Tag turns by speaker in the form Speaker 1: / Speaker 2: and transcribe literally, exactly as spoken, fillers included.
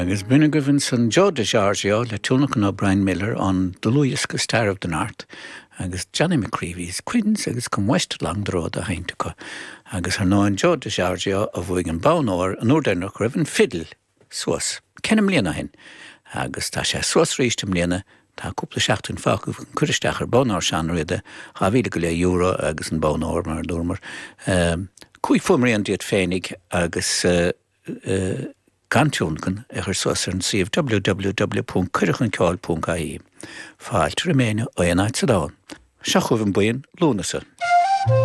Speaker 1: Agus b'in agaibh ansan Joe DiGiorgio le tionlacan ó Brian Miller an dlúthdhiosca Star of the North agus Johnny McCreevy's Quins agus Come West Along the Road á sheinnt acu. Agus ar ndóigh Joe DiGiorgio a bhuaigh an bonn óir an uair dheireanach go raibh an fidil suas ceithre bliana ó shin. Agus tá sé suas arís i mbliana tá cúpla seachtain fágtha chun cur isteach ar bonn óir Seán Riada dhá mhíle go leith euro agus an bonn óir mar a dúramar. Um, Cúig fuaimrian díot féinig agus uh, uh, gan tionlacan a chur suas ar an suíomh www.cuireadhchunceoil.ie. Fáilte roimh éinne ó aon áit sa domhan. Seo chugaibh an buíon Lúnasa.